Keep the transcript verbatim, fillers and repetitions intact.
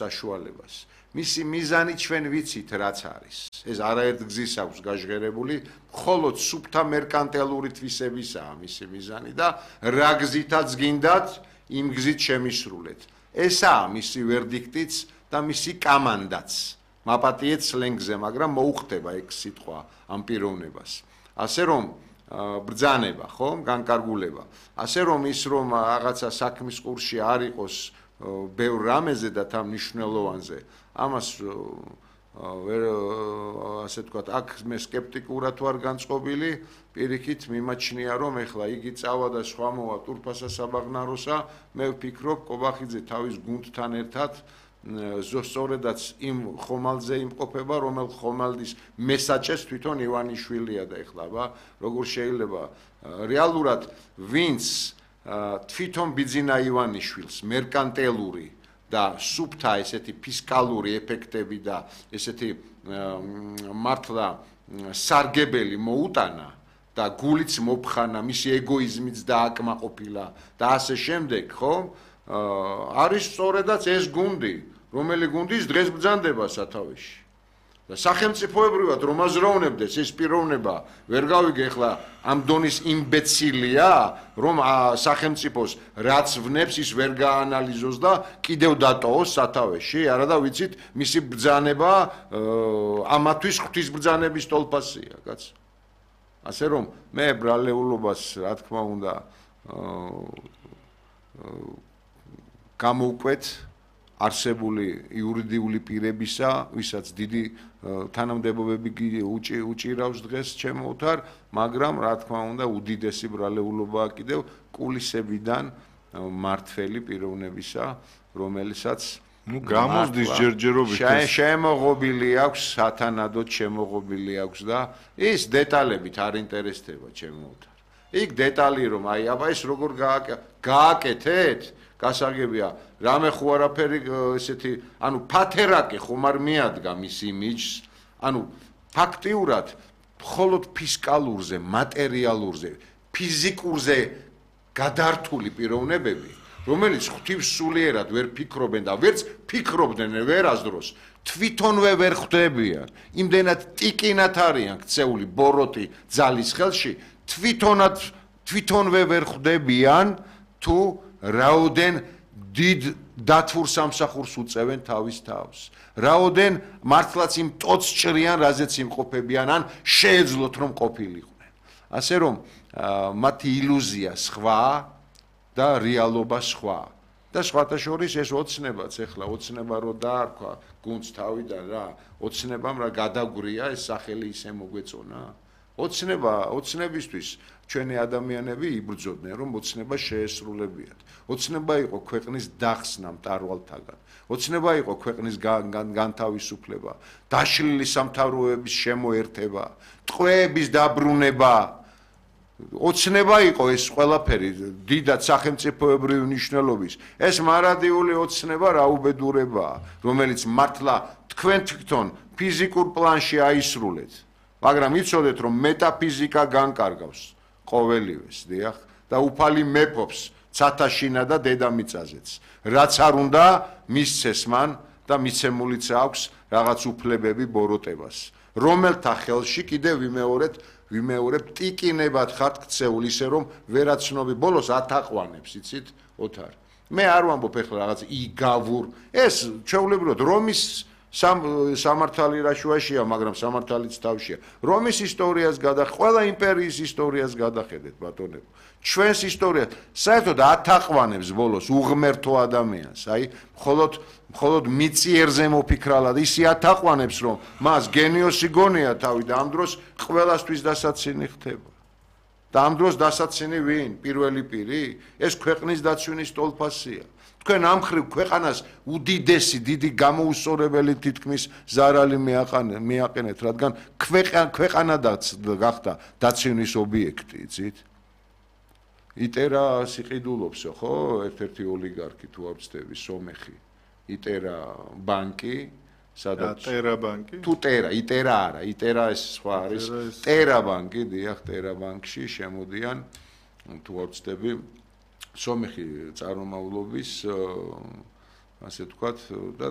საშუალებას. მისი მიზანი ჩვენ ვიცით რაც არის. ეს არაერთ გზის აქვს გაჟღერებული, მხოლოდ სუფთა მერკანტილური თვისებისაა მისი მიზანი და რა გზითაც გინდათ, იმ გზით შემისრულეთ. ესაა მისი ვერდიქტიც და მისი კამანდაც. მაპატიეთ სლენგზე, მაგრამ მოუხდება ეგ სიტყვა ამ პიროვნებას. ასე რომ ბრძანება, ხო, განკარგულება. ასე რომ ის რომ რაღაცა საქმის ყურში არ იყოს ბევრ რამეზე და თან მნიშვნელოვანზე, ამას ვერ ასე თქვათ, აქ მე სკეპტიკურად ვარ განწყობილი, პირიქით მიმაჩნია რომ ეხლა იგი წავა და სხვა მოვა ტურფასა საბაღნაროსა, მე ვფიქრობ კობახიძე თავის გუნდთან ერთად ზუსტადაც იმ ხომალდზე იმყოფება, რომელ ხომალდის მესაჭეს თვითონ ივანიშვილია და ეხლა ბა როგორ შეიძლება რეალურად ვინც თვითონ ბიძინა ივანიშვილს მერკანტილური და სუფთა ესეთი ფისკალური ეფექტები და ესეთი მართლა სარგებელი მოუტანა და გულიც მოფხანა, მისი ეგოიზმიც დააკმაყოფილა და ასე შემდეგ, ხო? არის სწორედაც ეს გუნდი, რომელი გუნდის დღეს ბრძანდება სათავეში. და სახელმწიფოებრივად რომ აზროვნებდეს ეს პიროვნება, ვერ გავიგე ახლა ამ დონის იმბეცილია, რომ სახელმწიფოს რაც ვნებს ის ვერ გაანალიზოს და კიდევ დატოვოს სათავეში, არა და ვიცით, მისი ბრძანება ამათვის ღვთისბრძანების ტოლფასია, კაც. ასე რომ მე ბრალეულობას, რა თქმა უნდა, გამოვკვეთ არსებული იურიდიული პირებისა, ვისაც დიდი თანამდებობები უჭირავს დღეს ჩემ ოთარ, მაგრამ რა თქმა უნდა, უდიდესი ბრალეულობაა კიდევ კულისებიდან მართველი პიროვნებისა, რომელსაც ნუ გამოსდის ჯერჯერობით შემოღობილი აქვს, სათანადოდ შემოღობილი აქვს და ის დეტალებით არ ინტერესდება ჩემ ოთარ. იქ დეტალი რომ აი აბა ეს როგორ გააკეთეთ, გასაგებია, რამე ხო არაფერი ესეთი, ანუ ფათერაკი ხომ არ მიადგა მის იმიჯს, ანუ ფაქტიურად მხოლოდ ფისკალურზე, მატერიალურზე, ფიზიკურზე გადართული პიროვნებები, რომელიც ღვთივსულიერად ვერ ფიქრობენ და ვერც ფიქრობდნენ ვერასდროს, თვითონვე ვერ ხვდებიან, იმდენად ტიკინათ არიან ქცეული ბოროტი ძალის ხელში, თვითონად თვითონვე ვერ ხვდებიან თუ რაოდენ დიდ დათვურ სამსახურს უწევენ თავის თავს. რაოდენ მართლაც იმ ტოც ჭრიან, რაზეც იმყოფებიან, ან შეეძლოთ რომ ყოფილიყვნენ. ასე რომ მათი ილუზია სხვა და რეალობა სხვა. და სხვათა შორის ეს ოცნებაც ეხლა ოცნება რო დაარქვა გუნდს თავიდან რა, ოცნებამ რა გადაგვრია ეს სახელი ისე მოგვეწონა. ოცნება, ოცნებისთვის ჩვენი ადამიანები იბრძოდნენ, რომ ოცნება შეესრულებიათ. ოცნება იყო ქვეყნის დახსნა მტარვალთაგან. ოცნება იყო ქვეყნის განთავისუფლება, დაშლილი სამთავროების შემოერთება, ტყვეების დაბრუნება. ოცნება იყო ეს ყველაფერი, დიდად სახელმწიფოებრივი მნიშვნელობის. ეს მარადიული ოცნება რაუბედურებაა, რომელიც მართლა თქვენ თვითონ ფიზიკურ პლანში აისრულეთ. მაგრამ იცოდეთ რომ მეტაფიზიკა განკარგავს ყოველივეს, დიახ, და უფალი მეფობს ცათაშინა და დედამიწაზეც. რაც არ უნდა მისცეს მან და მიცემულიც აქვს რაღაც უფლებები ბოროტებას. რომელთა ხელში კიდევ ვიმეორეთ, ვიმეორებ ტიკინებად ხართ ქცეული, ისე რომ ვერაცნობი ბოლოს ათაყვანებს, იცით, ოთარ. მე არ ვამბობ ეხლა რაღაც იგავურ, ეს ჩვეულებრივად რომის სამართალი რა შუაშია, მაგრამ სამართალიც თავშია. რომის ისტორიას გადახედეთ, ყველა იმპერიის ისტორიას გადახედეთ, ბატონებო. ჩვენს ისტორიას საერთოდ ათაყვანებს ბოლოს უღმერთო ადამიანს, აი, მხოლოდ მხოლოდ მიწიერზე მოფიქრალად ისი ათაყვანებს, რომ მას გენიოსი გონია თავი და ამ დროს ყველასთვის დასაცინი ხდება. და ამ დროს დასაცინი ვინ? პირველი პირი? ეს ქვეყნის დაცვინის ტოლფასია. თქვენ ამ ხრივ ქვეყანას უდიდესი დიდი გამოუსწორებელი თითქმის ზარალი მიაყენეთ, რადგან ქვეყანა გახდა დაცვინის ობიექტი, იცით? იტერა სიყიდულობსო, ხო? ერთ-ერთი ოლიგარქი თუ არ ვცდები, სომეხი. იტერა ბანკი, სადაც ტერა ბანკი? თუ ტერა, იტერა არა, იტერა ეს სხვა არის. ტერა ბანკი, დიახ, ტერა ბანკში შემოდიან, თუ არ ვცდები, სომეხი წარმომავლობის, ასე ვთქვათ, და